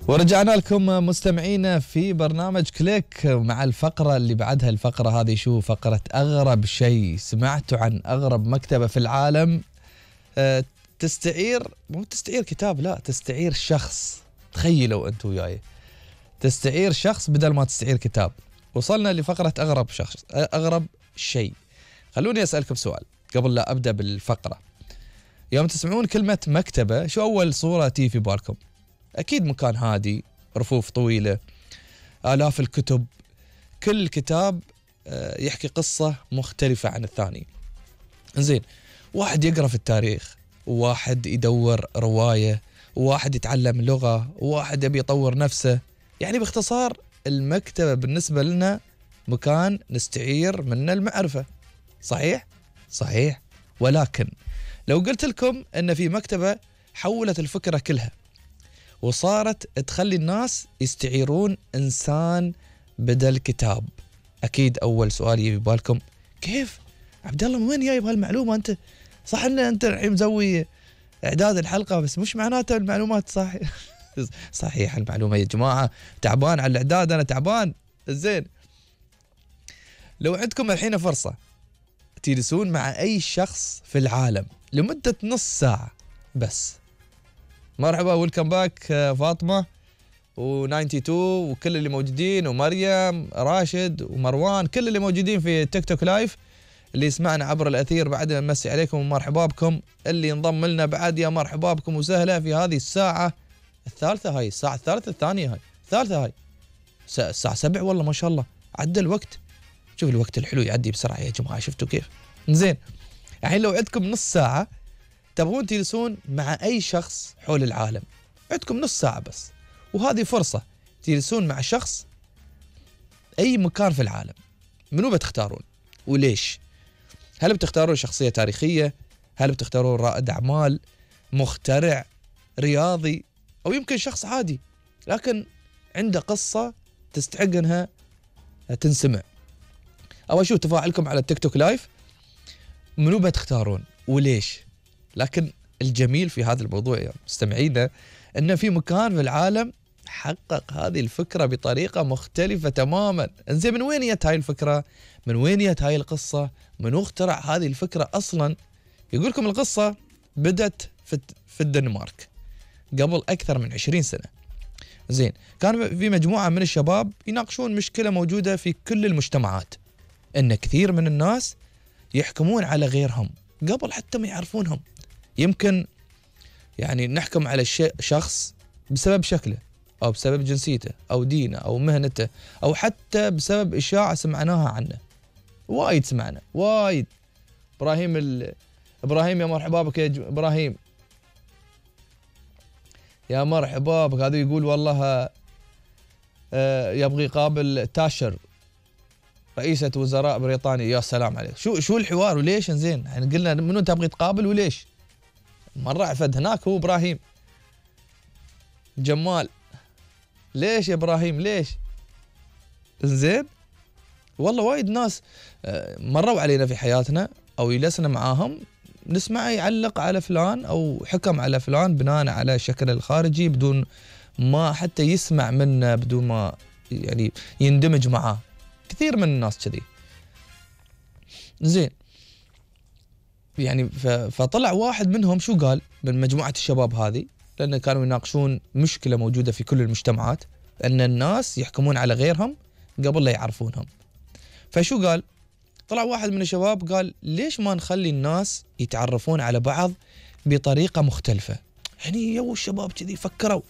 ورجعنا لكم مستمعينا في برنامج كليك مع الفقرة اللي بعدها. الفقرة هذه شو فقرة أغرب شيء سمعتوا عن أغرب مكتبة في العالم. مو تستعير كتاب، لا تستعير شخص. تخيلوا أنتوا وياي تستعير شخص بدل ما تستعير كتاب. وصلنا لفقرة أغرب شيء. خلوني أسألكم سؤال قبل لا أبدأ بالفقرة. يوم تسمعون كلمة مكتبة شو أول صورة تيجي في بالكم؟ أكيد مكان هادي، رفوف طويلة، آلاف الكتب، كل كتاب يحكي قصة مختلفة عن الثاني. زين، واحد يقرأ في التاريخ، وواحد يدور رواية، وواحد يتعلم لغة، وواحد يبي يطور نفسه. يعني باختصار المكتبة بالنسبة لنا مكان نستعير منه المعرفة. صحيح؟ صحيح. ولكن لو قلت لكم أن في مكتبة حولت الفكرة كلها وصارت تخلي الناس يستعيرون إنسان بدل كتاب، أكيد أول سؤال يجي بالكم كيف؟ عبد الله من وين جايب هالمعلومة أنت؟ صح إن أنت الحين مسوي إعداد الحلقة بس مش معناته المعلومات صح. صحيح المعلومة يا جماعة، تعبان على الإعداد، أنا تعبان. زين، لو عندكم الحين فرصة تجلسون مع أي شخص في العالم لمدة نص ساعة بس. مرحبا، ويلكم باك فاطمة و92 وكل اللي موجودين، ومريم، راشد ومروان، كل اللي موجودين في تيك توك لايف، اللي يسمعنا عبر الأثير بعد نمسي عليكم ومرحبا بكم. اللي انضم لنا بعد يا مرحبا بكم وسهلا في هذه الساعة الثالثة. هاي الساعة الثالثة الثانية، هاي الثالثة، هاي الساعة 7 والله ما شاء الله عدى الوقت. شوف الوقت الحلو يعدي بسرعة يا جماعة، شفتوا كيف؟ زين، الحين لو عندكم نص ساعة تبغون تجلسون مع أي شخص حول العالم، عندكم نص ساعة بس، وهذه فرصة تجلسون مع شخص أي مكان في العالم، منو بتختارون وليش؟ هل بتختارون شخصية تاريخية؟ هل بتختارون رائد أعمال، مخترع، رياضي، أو يمكن شخص عادي لكن عنده قصة تستحق أنها تنسمع؟ أو أشوف تفاعلكم على التيك توك لايف، منو بتختارون وليش؟ لكن الجميل في هذا الموضوع يا مستمعينا أن في مكان في العالم حقق هذه الفكرة بطريقة مختلفة تماما. انزين، من وين جت هاي الفكرة؟ من وين جت هاي القصة؟ من اخترع هذه الفكرة أصلا؟ يقولكم القصة بدت في الدنمارك قبل أكثر من 20 سنة. زين، كان في مجموعة من الشباب يناقشون مشكلة موجودة في كل المجتمعات، أن كثير من الناس يحكمون على غيرهم قبل حتى ما يعرفونهم. يمكن يعني نحكم على شخص بسبب شكله، أو بسبب جنسيته، أو دينه، أو مهنته، أو حتى بسبب إشاعة سمعناها عنه. وايد سمعنا، وايد. إبراهيم يا مرحبا بك يا إبراهيم، يا مرحبا بك. هذا يقول والله يبغي يقابل تاشر رئيسة وزراء بريطانيا. يا سلام عليك، شو الحوار وليش؟ زين، يعني قلنا منو تبغي تقابل وليش؟ مرة عفد هناك هو إبراهيم جمال. ليش يا إبراهيم ليش؟ زين، والله وايد ناس مروا علينا في حياتنا أو جلسنا معاهم نسمع يعلق على فلان أو حكم على فلان بناء على شكله الخارجي بدون ما حتى يسمع منه، بدون ما يعني يندمج معاه. كثير من الناس كذي. زين، يعني فطلع واحد منهم شو قال من مجموعة الشباب هذه، لأن كانوا يناقشون مشكلة موجودة في كل المجتمعات، أن الناس يحكمون على غيرهم قبل لا يعرفونهم. فشو قال؟ طلع واحد من الشباب قال ليش ما نخلي الناس يتعرفون على بعض بطريقة مختلفة؟ يعني الشباب كذي فكروا